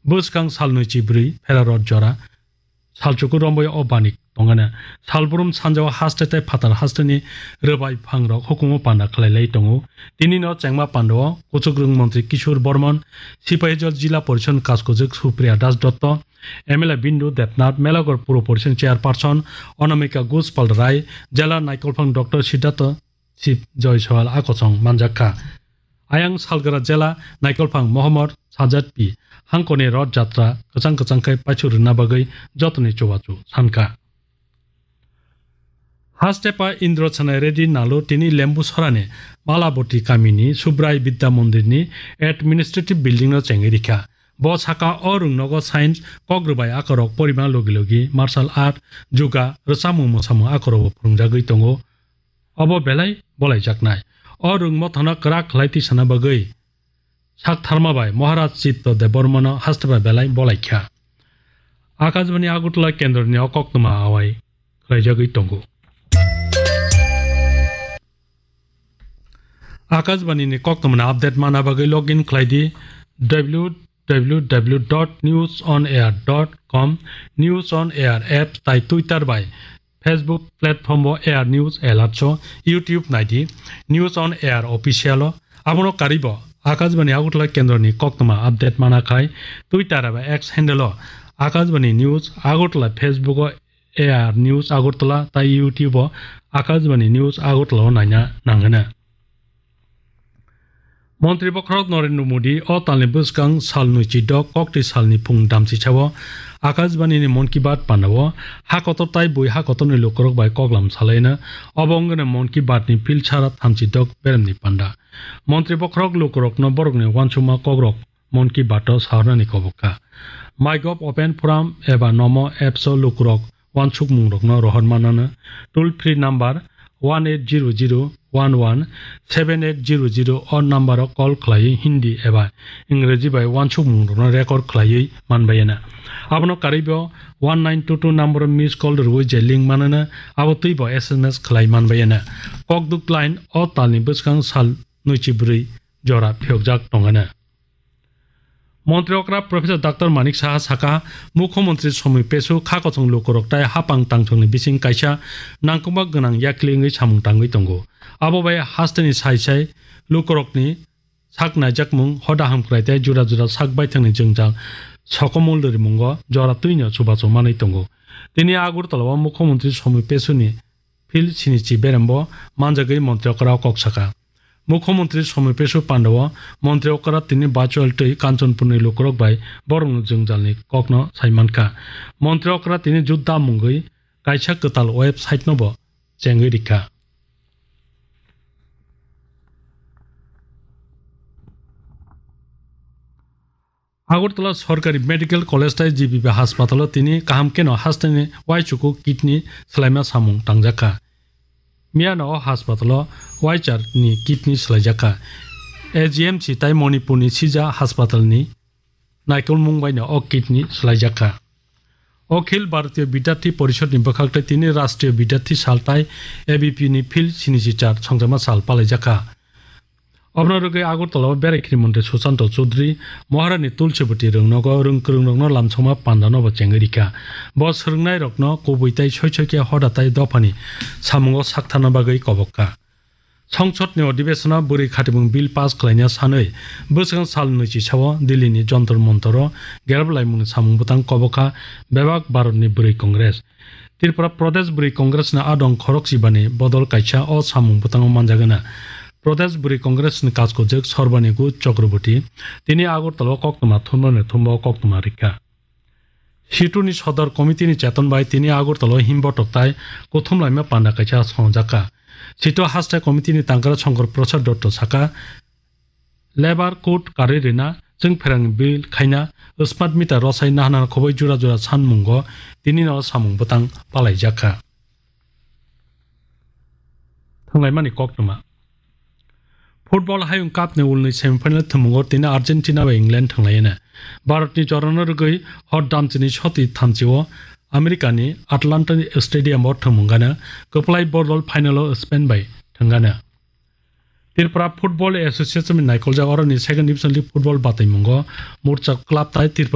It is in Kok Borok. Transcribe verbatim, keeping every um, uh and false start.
Bwskang sal nwichi bwrwi phera rot jora salchuku romwi o bani tongana. Salbrum sanjao haste tei phatar hasteni rwbai phangrok hukumu panda khlailai tongo. Tinino chengma pandao Kuchukrwng Montri Kishore Bormon, Sipahijot Jila Porishod Kaskojwk Supriya Das Dotto, M L A Bindu Debnath, Melagor Puro Porishod Chairperson Anamika Guspal Rai, Jela Naikolphang Doctor Siddhartha Sip Joy Soal a kochong manjak kha. Ayang salgra jela naikolphang Mohammad Sajad P. Hangkoni Rod Jatra kwchang kwchang khe paichu rwna bagwi jotoni chubachu sankha. Hastepa Indro Chanai Reddy Nalu tini Lembu Sorani Malaboti kamini Subrai Bidya Mondirni administrative building no chengwi rikha. Bo saka o rwngnogo science, kok rwbai akorok, porima logi logi, martial art, juga, rwchapmung mwsamung akorokbo phwrwngjagwi tongo. Obo belai bolaijaknai. O rwngmothano kwrak khlai tisana bagwi sak tharma bai Maharaj Chitto Debbarmano haste bai belai bolaikha. Akashbani Agartala kendroni o koktwma awai khlaijagwi tongo. Akashbani ni koktwmani update mana bagwi login khlai di w w w dot news on air dot com, News on Air app tai Twitter bai Facebook platform o Air News Alert o, YouTube nai di News on Air Official o. Abono karwi bo Akashbani Agartala kendroni koktwma update mana khai Twitter eba X handle o Akashbani News Agartala, Facebook o Air News Agartala tai YouTube o Akashbani News Agartala o naina nangana. Montri bokhorok Narendra Modi o talni bwskang sal nwichi dok kokti salni phung damchisa o Akashbani ni Mann Ki Baat panda o ha kotor tai bui ha kotorni lukurok bai koklam salaina. Obo wngkha Mann Ki Baat ni phil sara thamchi dok beremni panda. Montri bokhorok lukurokno borokni uansukma kokrok Mann Ki Baat o sahornani kobok kha. MyGov Open Forum eba Namo apps o lukurok uansukmungrokno rohor manana. Toll free number one eight zero zero one one seven eight zero zero o number o call khlaiwi Hindi eba Ingreji bai uansukmungrokno record khlaiwi manbayana. Abono karwi bo one nine two two number o miss call rwui je link manana, abo twi bo S M S khlai manbayana. Kokduk line o talni bwskang sal nwichi bwrwi jora phiyokjak tongana. Montri okra Professor Doctor Manik Saha saka, Mukhyamantri Somoi Pesu kha kochong lukurok tai hapang tangchongni bising kaisa nangkukma gwnang yakli wngwi samung tangwi tongo. Abo bai hasteni sai sai lukurokni sak naijakmung, hoda hamkrai tei jura jura sak baithangni jwngjal sokomul rimungo jora twino chubachu manwi tongo. Tini Agartala o Mukhyamantri Somoi Pesuni phil sinichi berembo manjagwi montri okra kok saka. Mukhyamantri Somoi Pesu panda o montri okra tini virtual twi Kanchanpurni lukurok bai borokni jwngjalni kokno sai mankha. Montri okra tini judda mungwi kaisa kwtal website no bo chengwi rikha. Agartala Sorkari Medical College tai G B B Hospital o tini kaham keno hasteni uaichuku kidney swlaima samung tangjakha. Miyano o hospital o uaichar ni kidney swlaijakha. A G M C tai Manipurni Sija Hospital ni naikolmung baino o kidney swlaijakha. Akhil Bharatiya Bidyarthi Porishod ni bwkhak tai tini Rashtriya Bidyarthi Sal tai A B P ni phil sinichi char songjakma sal palaijakha. Obwno rwgwi Agartala o berai khini montri Sushanta Chowdhury Maharani Tulsibati rwngnogo rwng kwrwngrokno lamsokma panda no bo chengwi rikha. Bo swrwngnairokno kubui tai soi soi khe hoda tai dophani samungo saktharna bagwi kobok kha. Songsodni odhibeshono bwrwi khatimung bill pass khlaina sanwi bwskang sal nwichi sao Delhini Jantar Mantaro gerablaimungni samung bwtang kobok kha bebak Bharatni Bwrwi Congress. Tripura Pradesh Bwrwi Congressni adong khorok chibani bodol kaisa o samung bwtango manjagana. Pradesh Bwrwi Congressni kajkojwk Sorbani Guj Chakraborty tini Agartala o koktwma thumnani thumba o koktwma rikha. Situni Sodor Committee ni cheton bai tini Agartala o himbotok tai kuthum laima panda kaisa songjakha. Situ Haste Committee ni tangkra Shankar Prasad Dotto saka, Labour Code karwi rwna, chwng pherang bill khaina, smart meter rwsai nahana khoboi jura jura sanmungo tinino samung bwtang palaijakha. Thwnglaimani koktwma. Football Hayung Cup ni ulni semifinal thwngmungo tini Argentina bai England thwnglaina. Bharatni jorano rwgwi hor damchini soti thamchio Americani Atlanta Stadium o thwngmung gana kwplai bodol final o Spain bai thwngana. Tripura Football Association ni naikoljak oroni Second Division League football bataimungo Murcha club tai Tripura